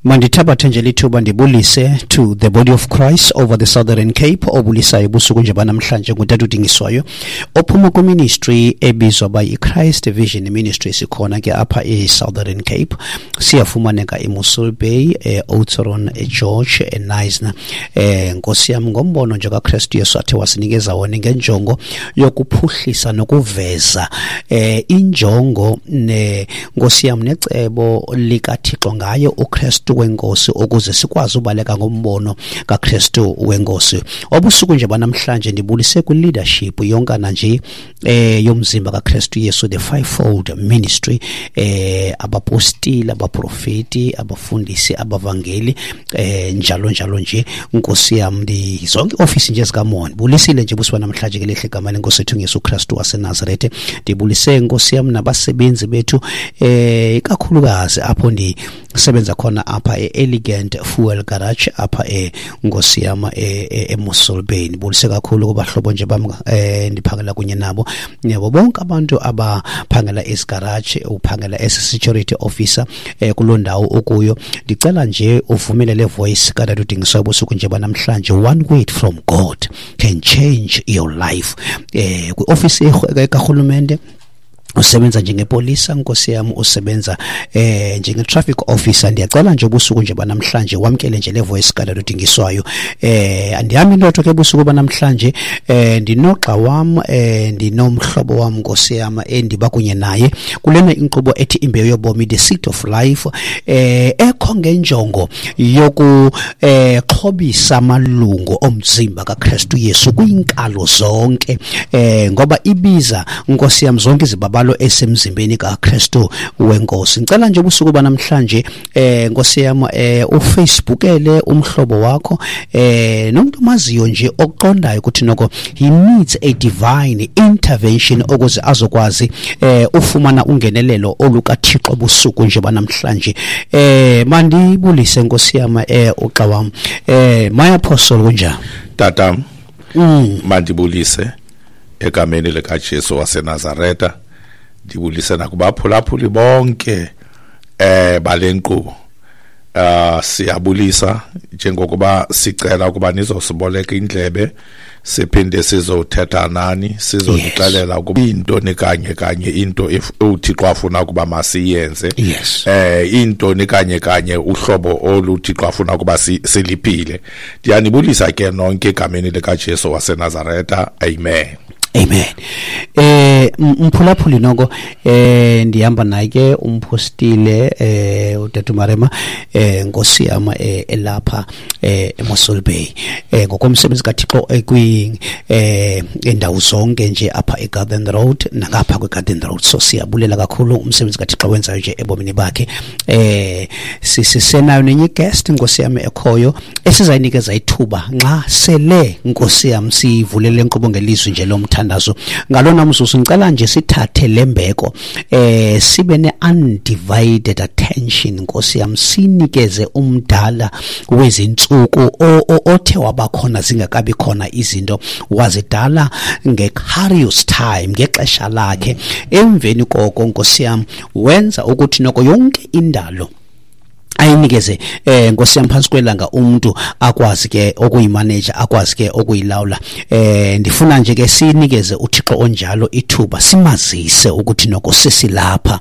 Mandithabathe nje lithuba ndibulise to the body of Christ over the Southern Cape. Obulisayo busuku nje banamhlanje ngutata uDingiswayo ophuma kwiministry ebizwa by iChrist Vision Ministry. Sikhona ke apha e-Southern Cape, siyafumaneka eMossel Bay, e-Oudtshoorn, eGeorge, eKnysna. Nkosi yam, ngombono nje kaKristu Yesu athe wasinikeza wona ngenjongo yokuphuhlisa nokuveza injongo ne Nkosi yam necebo likaThixo ngaye uKristu wenkosi, ukuze sikwazi ubaleka ngombono kaKristu wenkosi. Obusuku nje banamhlanje ndibulise kwi-leadership yonkana nje yomzimba kaKristu Yesu, the fivefold ministry, abapostile, abaprofeti, abafundisi, abavangeli, njalo njalo nje. Nkosi yam, zonke iofisi nje zikaMoya ndibulisile nje busuku namhlanje ke lehle igama lenkosi ethu Yesu Kristu waseNazarete. Ndibulise Nkosi yam nabasebenzi bethu, ikakhulukazi apho ndisebenza khona apha e-Elegant Fuel Garage apha eNkosi yam eMossel Bay. Ndibulise kakhulu kubahlobo nje bam ndiphangela kunye nabo, yabo bonke abantu abaphangela esigarage, uphangela as security officer kuloo ndawo okuyo. Ndicela nje uvumele le voice katata uDingiswayo busuku nje banamhlanje. One word from God can change your life. Kwiofisi karhulumente usebenza njengepolisa, nkosi yam, usebenza njenge-traffic officer, ndiyacela nje ubusuku nje banamhlanje wamkele nje le voice katata uDingiswayo. Andihambi ndodwa ke busuku banamhlanje, ndinogxa wam, ndinomhlobo wam, nkosi yam, endiba kunye naye kulena inkqubo ethi Imbewu Yobomi, the Seed of Life, ekho ngenjongo yoku xhobisa amalungu omzimba kaKristu Yesu kwiinkalo zonke, ngoba ibiza, nkosi yam, zonke izibabalo esemzimbeni kaKristu wenkosi. Ngicela nje ubusuku banamhlanje, nkosi yam, uFacebookele umhlobo wakho, nomuntu omaziyo nje okuqondayo ukuthi noko he needs a divine intervention ukuze azokwazi ufumana ungenelelo olukaThixo busuku nje banamhlanje. Mandibulise, nkosi yam, uxa wam, my apostle, kunjani? Tata, mandibulise egameni likaJesu waseNazareta, ndibulise nakubaphulaphuli bonke bale nkqubo. Siyabulisa njengokuba sicela ukuba nizosiboleka indlebe, siphinde sizothetha nani, sizonixelela ukuba intoni kanye kanye into uThixo afuna ukuba masiyenze, intoni kanye kanye uhlobo oluThixo afuna ukuba siliphile. Ndiyanibulisa ke nonke egameni likaJesu waseNazareta, amen. Amen. Mphulaphuli noko, ndihamba naye ke umpostile utata Marema, nkosi yam, elapha eMossel Bay, ngokomsebenzi kaThixo kwi indawo zonke nje apha eGarden Road nangapha kweGarden Road. So siyabulela kakhulu umsebenzi kaThixo wenzayo nje ebomini bakhe. Sisenayo nenye guest, nkosi yam, ekhoyo esizayinikeza ithuba nxa sele, nkosi yam, sivulele inkqubo ngelizwi nje lomthandazo. Ngalona mzuzu ngicela nje sithathe lembeko, sibe ne-undivided attention, nkosi yam, sinikeze umdala wezintsuku othe wabakhona zingakabi khona izinto, wazidala nge-Kairos time, ngexesha lakhe. Emveni koko, nkosi yam, wenza ukuthi noko yonke indalo ayinikeze, nkosi yam, phantsi kwelanga, umuntu akwazi ke okuyimanage, akwazi ke okuyilawula. Ndifuna nje ke sinikeze uThixo onjalo ithuba, simazise ukuthi noko sesilapha,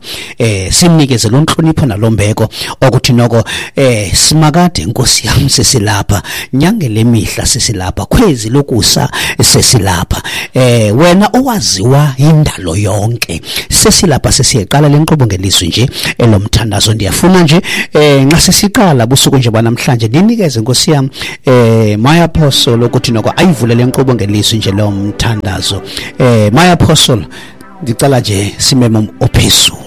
simnikeze lo ntlonipho nalombeko okuthi noko, simakade, nkosi yam, sesilapha, nyange lemihla sesilapha, khwezi lokusa sesilapha, wena owaziwa indalo yonke, sesilapha. Sesiyeqala lenkqubo ngelizwi nje elomthandazo. Ndiyafuna nje, nxa sesiqala busuku nje banamhlanje, ndinikeze, nkosi yam, my apostle ukuthi noko ayivule le nkqubo ngelizwi nje lomthandazo. My apostle, ndicela nje simeme ophezulu.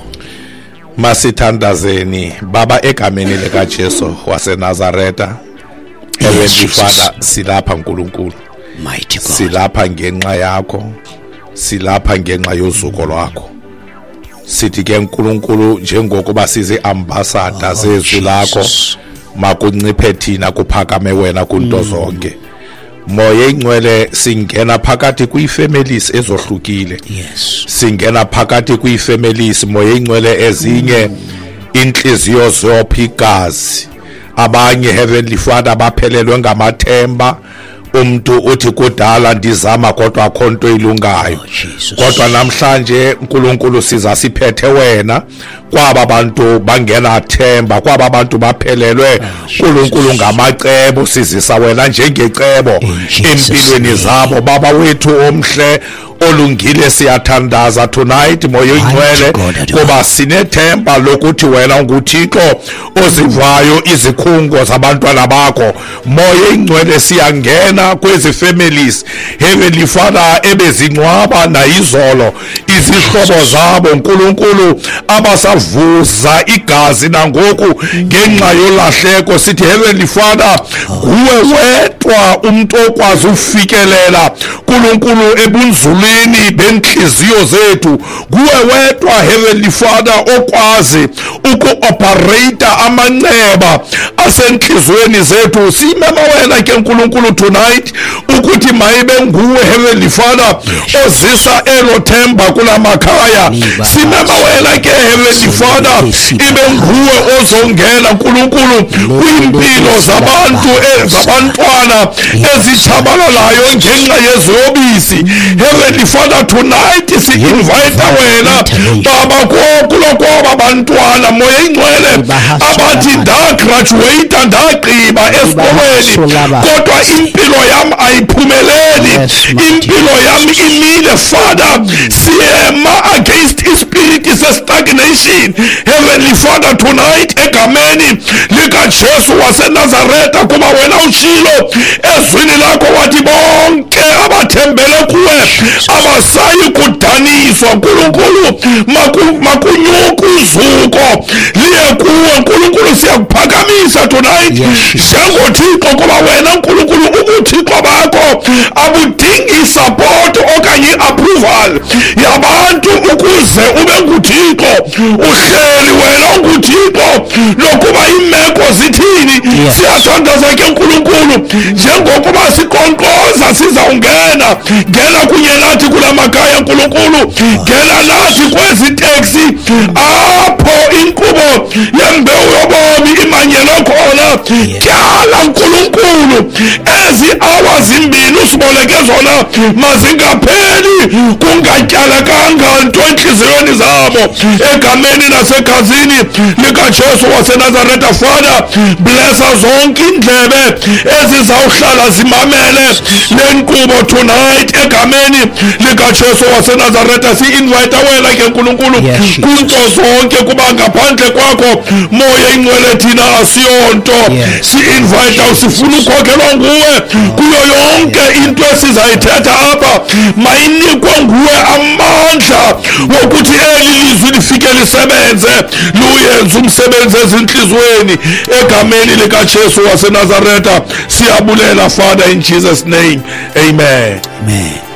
Masithandazeni. Baba, egameni likaJesu waseNazareta, Heavenly Father, silapha, Nkulunkulu. Mighty God. Silapha ngenxa yakho, silapha ngenxa yozuko lwakho. Sithi ke, Nkulunkulu, njengokuba sizi-ambassador zezwi lakho, Jesus. makunciphe thina, kuphakame wena kunto zonke. Moya Ingcwele, singena phakathi kwii-families ezohlukile, singena phakathi kwii-families, Moya Ingcwele, ezinye inhliziyo zopha igazi. Abanye, Heavenly Father, baphelelwe ngamathemba. Umntu uthi kudala ndizama kodwa akho nto ilungayo. Oh, kodwa namhlanje uNkulunkulu siza siphethe wena kwaba bantu bangenathemba, kwaba bantu baphelelwe uNkulunkulu ngamacebo, sizisa wena njengecebo empilweni zabo. Baba wethu omhle olungile, siyathandaza tonight, Moya Oyingcwele, kuba sinethemba lokuthi wena unguThixo ozivayo izikhungo zabantwana bakho. Moya Oyingcwele, siyangena kwezi families, Heavenly Father, ebezingcwaba nayizolo izihlobo zabo, Nkulunkulu, abasavuza igazi nangoku ngenxa yolahleko. Sithi, Heavenly Father, nguwe wedwa umntu okwazi ufikelela, Nkulunkulu, ebunzulwini bentliziyo zethu. Nguwe wedwa, Heavenly Father, okwazi uku-operate amanxeba asentliziyweni zethu. Simema wena ke, Nkulunkulu, tonight ukuthi mayibe nguwe, Heavenly Father, ozisa elo themba kula makhaya. Simema wena ke, Heavenly Father, ibe nguwe ozongena, Nkulunkulu, kwiimpilo zabantu, zabantwana ezitshabalalayo ngenxa yeziyobisi. Heavenly Father, tonight si-invite wena, Baba, kulo kwaba bantwana, Moya Ingcwele, abathi ndagraduate, ndagqiba esikolweni, kodwa impilo yam ayiphumeleli, impilo yam imile. Father, siyema against ispirit se-stagnation, Heavenly Father, tonight, egameni likaJesu waseNazaretha, kuba wena utshilo ezwini lakho wathi bonke abathembele kuwe abasayi kudaniswa. Nkulunkulu, makunyuke uzuko liye kuwe. Nkulunkulu, siyakuphakamisa tonight njengoThixo, kuba wena, Nkulunkulu, ubuthixo bakho abudingi isupport okanye i-approval yabantu ukuze ube nguThixo. Uhleli wena unguThixo nokuba iimeko zithini. Siyathandaza ke, Nkulunkulu, njengokuba siqonkqoza sizawungena, ngena kunye nathi kula makhaya, Nkulunkulu, ngena nathi kwezi teksi apho inkqubo yembewu yobomi imanyelwe khona. Tyala, Nkulunkulu, ezi awa zimbini usiboleke zona mazingapheli kungatyalekanga nto entliziyweni zabo, egameni nasegazini likaJesu waseNazaretha. Father, blessa zonke iindlebe ezizawuhlala zimamele le nkqubo tonight, egameni likaJesu waseNazaretha. Si-invite wena ke, Nkulunkulu, kwinto zonke, kuba ngaphandle kwakho, Moya Ingcwele, thina asiyonto. Si-invite, sifuna ukhokhelwa nguwe kuyo yonke into esizayithetha apha. Mayinikwe nguwe amandla wokuthi eli lizwi lifike lisebenze, luyenze umsebenzi ezintliziyweni, egameni likaJesu waseNazaretha. Siyabulela, Father, in Jesus' name, amen. Amen.